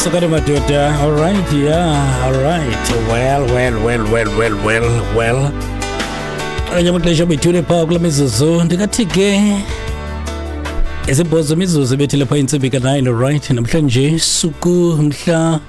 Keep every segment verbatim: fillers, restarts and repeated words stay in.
Sukani madoda. All right, yeah, all right. Well, well, well, well, well, well, well. Kanye amaxesha bethule phaa kula mizuzu, ndingathi ke isibhozo imizuzu ebethile phaa intsimbi ka-nine. Right, namhlanje suku mhla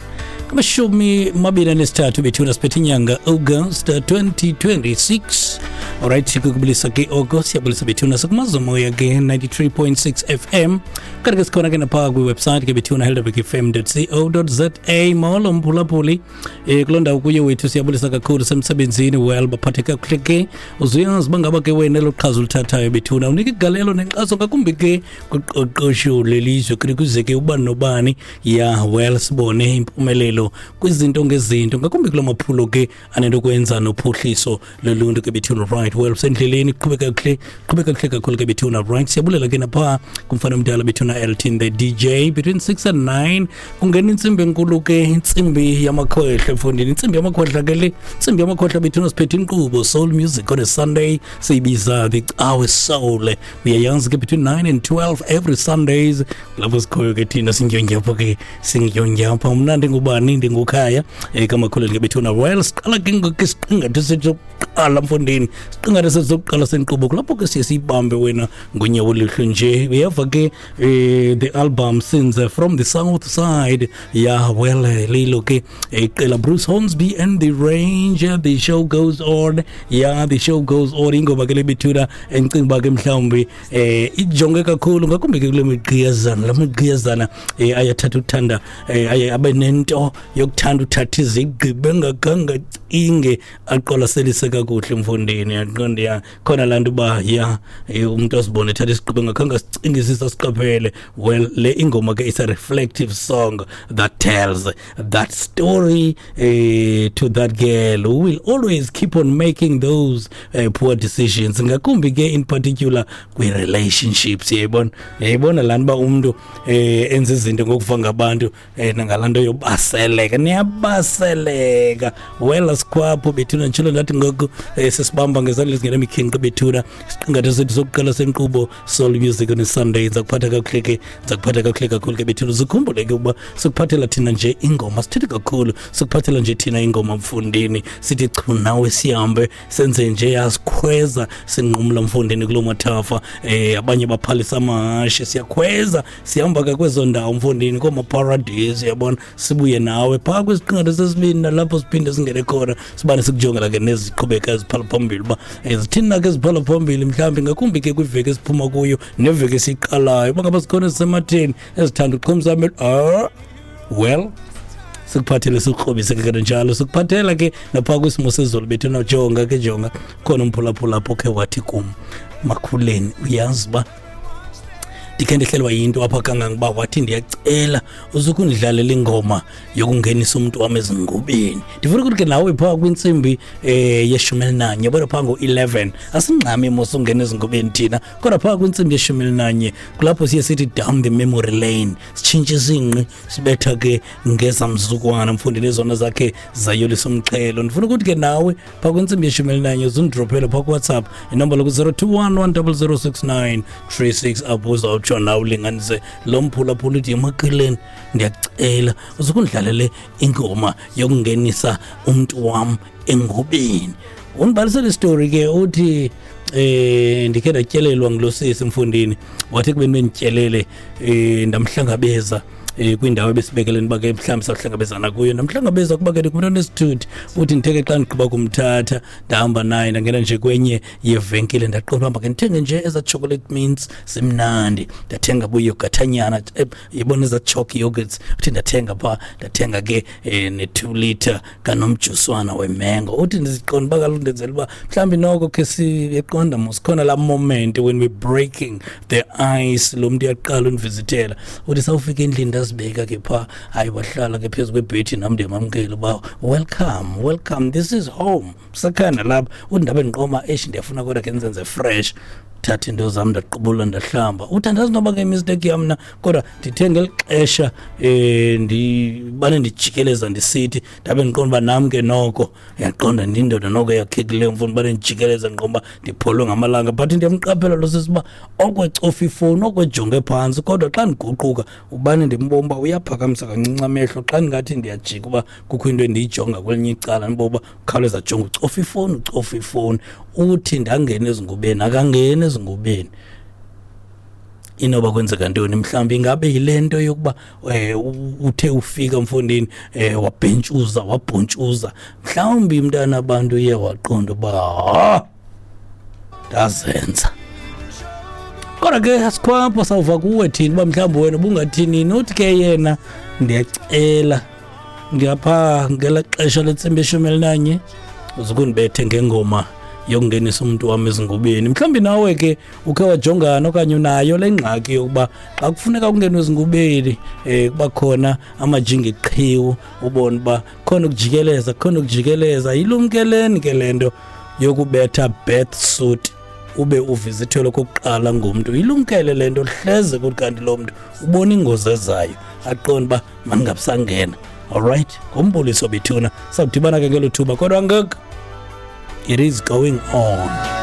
amashumi mabini anesithathu bethuna, siphethe inyanga August twenty twenty-six. Alright, kukubulisa ke oko, siyabulisa bethuna, sikumazomoya ke ninety-three point six F M, kanti ke sikhona ke naphaa kwiwebsite ke bethuna, helderberg F M dot co dot za. Molo mphulaphuli um kuloo ndawo kuye wethu, siyabulisa kakhulu semsebenzini. Well, baphathe kakuhle ke. Uzuyazi uba ngaba ke wena elo qhaza ulithathayo bethuna unika igalelo nenkxaso ngakumbi ke kuqoqosho lelizwe, kuthi kuze ke ubani nobani, ya, well, sibone impumelelo kwizinto ngezinto, ngakumbi kuloo maphulo ke anento kwenza nophuhliso loluntu ke bethuna. Right, well, sendleleni, qhubeka kuhle, qhubeka kuhle kakhulu ke bethuna. Right, siyabulela ke naphaa kumfana omdala bethuna, Elton the D J. Between six and nine kungena intsimbi enkulu ke, intsimbi yamakhohla efundini, intsimbi yamakhohla ke le, intsimbi yamakhohla bethuna. Siphethe inkqubo Soul Music on a Sunday, siyibiza the Cawe Soul. Uyayazi ke, between nine and twelve every Sundays lapho sikhoyo ke thina, singyongyapha ke, singyongyapha. Mna ndingubani? Ndingukhaya um kamakhulu ke bethuna. Well, siqala ke ngoku isiqingatha sethu sokuqala mfondini, isiqingatha sethu sokuqala senkqubo, kulapho ke siye siyibambe wena ngonyawo oluhle nje. Uyeva ke, eh, the album Sins from the South Side, yeah, well, eh, lilo ke iqela Bruce Hornsby and the Range, "The Show Goes On". Yeah, "The Show Goes On", ingoma ke lebethuna endicinga uba ke mhlawumbi eh ijonge kakhulu ngakumbi ke kule migqiyazana, la migqiyazana eh ayathatha uthanda, eh aye abe nento yokuthanda uthatha izigqibo engakhange acinge, aqwalaselise kakuhle mfondini. Yaqonda, ya, khona laa nto uba, ya, eh, umntu azibone ethatha isigqibo engakhange asicingisise, asiqaphele. Well, le ingoma ke is a reflective song that tells that story eh, to that girl who will always keep on making those uh, poor decisions, ngakumbi ke in particular kwi-relationships. Uyayibona, uyayibona laa nto uba umntu eh, enza izinto ngokuva ngabantu, eh, nangalaa nto yobaseleka, niyabaseleka. Well, asikhwapho bethuna, nditshilo ndathi ngoku eh, sisibamba ngezandla ezingenemikhinqi bethuna, isiqingatha sethu sokuqala senkqubo Soul Music on Sunday. Ndiza kuphatha kakuhle ke, ndiza kuphatha kakuhle kakhulu ke bethuna. Zikhumbule ke ukuba sikuphathela thina nje ingoma, sithethe kakhulu, sikuphathela nje thina ingoma mfundini, sithi chu nawe, sihambe senze nje, yasikhweza, sinqumla mfundini kuloo mathafa, eh abanye baphalisa amahashe, siyakhweza, sihamba ke kwezo ndawo mfundini, koomaparadisi, yabona, sibuye nawe phaa kwisiqingatha sesibini, nalapho siphinde singene khona, sibane sikujongela ke neziqhubeka eziphala phambili uba eh, zithini na ke eziphala phambili, mhlawumbi ngakumbi ke kwiveki esiphuma kuyo neveki esiyiqalayo, uba ngaba zikhona ezisematheni ezithanda uqhumisa amehlo. Ah, well, sikuphathele, sikukrobise ke kanjalo, sikuphathela ke naphaa kwisimo sezulu bethu. Jonga ke, jonga khona umphulaphula apho khe wathi kum, "Makhuleni, uyazi uba ndikhe ndehlelwa yinto apha kangangoba," wathi, "ndiyacela uzukundidlalela ingoma yokungenisa umntu wam ezingubeni." Ndifuna ukuthi ke nawe phaa kwintsimbi um yeshumi elinanye, yabona, phaa ngo-eleven, asingxami mos ungena ezingubeni thina, kodwa phaa kwintsimbi yeshumi elinanye kulapho siye sithi down the memory lane, sitshintshe isingqi, sibetha ke ngezamzukwana mfundini, ezona zakhe zayolisa umxhelo. Ndifuna ukuthi ke nawe phaa kwintsimbi yeshumi elinanye uzundidrophele phaa kuWhatsApp, inombolo ku-zero two one one zero zero six nine three six, apho uzawutsho nawe ulinganise lo mphulaphula, uthi, "Emakhuleni, ndiyacela uzukundlalele ingoma yokungenisa umntu wam engubeni." Undibalisele isitori ke, uthi, eh ndikhe ndatyelelwa ngulo sisi mfundini, wathi kubeni bendityelele, eh ndamhlangabeza eh kwindawo ebesibekeleni uba ke mhlawumbi sawuhlangabezana kuyo, ndamhlangabeza kuba ke ndingumntu onesithuthi. Uthi ndithe ke xa ndigqiba kumthatha, ndahamba naye, ndangena nje kwenye yevenkile, ndaqonda uba make ndithenge nje ezaa chocolate mints zimnandi, ndathenga buyogathanyana, yibona ezaa choc yogurts. Uthi ndathenga phaa, ndathenga ke eh, ne-two litre kanomjuswana wemengo. Uthi ndiziqonda uba kaloku ndenzela uba mhlawumbi noko khe siyeqonda mos, khona laa moment when we breaking the ice, lo mntu uyaqala undivizithela. Uthi sawufika endlini, ndazibeka ke phaa, hayi, wahlala ke phezu kwebhedi, nam ndiyamamkela uba welcome, welcome, this is home, sakhana lapha. Uthi ndabe ndiqoma, eish, ndiyafuna kodwa ke ndizenze fresh, thatha into zam, ndaqubula, ndahlamba. Uthi andazi noba ke mistake yam na, kodwa ndithe ngeli xesha um Ndibane ndijikeleza ndisithi, ndabe ndiqonda uba nam ke noko uyaqonda, ndindoda noko eyakhekileyo mfo, ndibane ndijikeleza ndiqonda uba ndipholwe ngamalanga. But ndiyamqaphela lo sisi uba okwecofa ifowuni, okwejonge phantsi, kodwa xa ndiguquka ubane ndimbona uba uyaphakamisa kancinci amehlo. Xa ndingathi ndiyajika uba kukho into endiyijonga kwelinye icala, ndibona uba ukhawuleza ajonge, ucofa ifowuni, ucofa ifowuni. Uthi ndangena ezingubeni, akangeni ezingubeni. Inoba kwenzeka ntoni? Mhlawumbi ingabe yile nto yokuba um uthe ufika mfondini um wabhentshuza, wabhontshuza, mhlawumbi mntana abantu uye waqonda uba ha, ndazenza. Kodwa ke asikhwapho, sawuva kuwe thina uba mhlawumbi wena ubungathini. Uthi ke yena, ndiyacela ngapha ngela xesha lentsimbi eshumi elinanye uzukundibethe ngengoma yokungenisa umntu wam ezingubeni. Mhlawumbi nawe ke ukhe wajongana okanye unayo le ngxaki yokuba xa kufuneka kungenwe ezingubeni um kuba khona amajingi qhiwu, ubone uba khona ukujikeleza, khona ukujikeleza. Yilumkeleni ke le nto yokubetha bath suit ube uvizithelwe okokuqala ngumntu. Ilumkele le nto, hleze kuthi kanti lo mntu ubona ingozi ezayo, aqonde uba mandingabisangena. Alright, ngumbuliso bethuna, sawudibana ke ngelo thuba, kodwa ngoku it is going on.